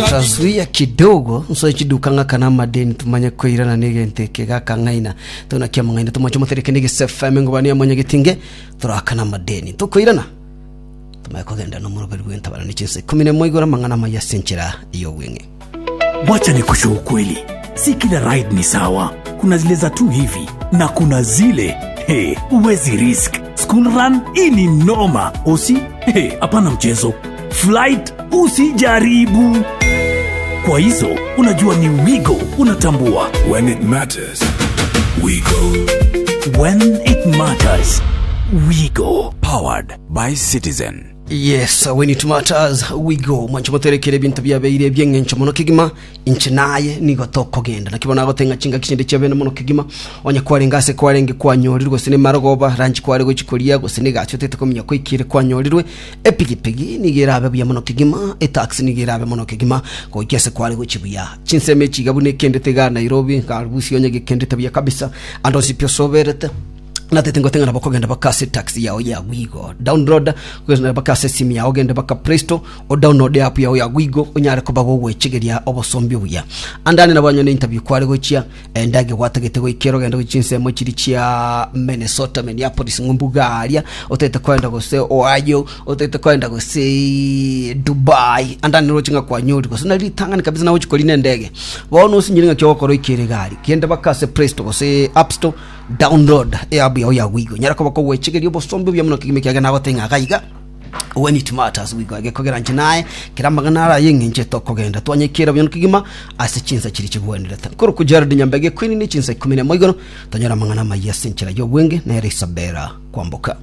Ntazuia kidogo nsoe chiduka ng'akane amadeni tumanye koirana negento eke gakang'aina tona kiamang'aina tomoche motereke negese FM ngobani ya mwanyagetinge torakana amadeni tokoirana tumanye kogenda nomoroberi bwentabana ne chinsa ikomi nemo igoro amang'ana amaya ase enchera y'obweng'e. Wacha nikushe ukweli, si kila ride ni sawa. Kuna zile za tu hivi na kuna zile hey, huwezi risk. School run hii ni noma. Usi hey, hapana mchezo. Flight usijaribu. Kwa hizo unajua ni Wigo unatambua. When it matters, we go. When it matters, we go. Powered by Citizen. Yes, when it matters we go. Mwancho moterekere ebinto biabeire ebi'eng'encho mono kegima inche naye nigo tokogenda naki bono agote ng'a chingaki chinde chiabene mono kegima onye kwarenge ase kwarenge kwanyorirwe gose nemarogoba ranchi kware gochi koria gose negasi otete kominya koikire kwanyorirwe epigipigi nigo erabe buya mono kegima etaxi nigo erabe mono kegima goika ase kware gochi buya chinsemo echi iga buna ekendete igaa Nairobi Nkarusia onye gekendete buya kabisa ande onsi pi osoberete natete ngote ng'a nabo okogenda baka ase taxi yao ya Wigo download kogenda baka ase esimu yao ogende baka Play Store o download app yao ya Wigo onyare koba gogwechegeria obosombi obuya andane nabo anyone interview kware gochia endage gwatagete goikera ogende gochia chinsemo chiri chia Minnesota Minneapolis ng'umbuga aria otagete koenda gose Ohio otagete koenda gose Dubai andane roche ng'a kwanyori gose na ritang'ani kabisa nagochi korina endege bono osinyire ng'aki ogokora oikere egari genda baka ase Play Store gose App Store Download eapp yao ya Wigo. Nyara koba kogwechegeria obosombe obuya mono kegima ekiagera nagotebia ng'a iga iga when it matters Wigo egekogera inche naye kera amang'ana ara ay'eng'encho etokogenda twanyekera buya kegima ase chinsa chiria chigwenerete. Nkorokwa Gerald Nyambege Queen ne chinsa ikomi nemo igoro tonyore amang'ana amayia ase enchera y'obwenge nere Isabella Kwamboka.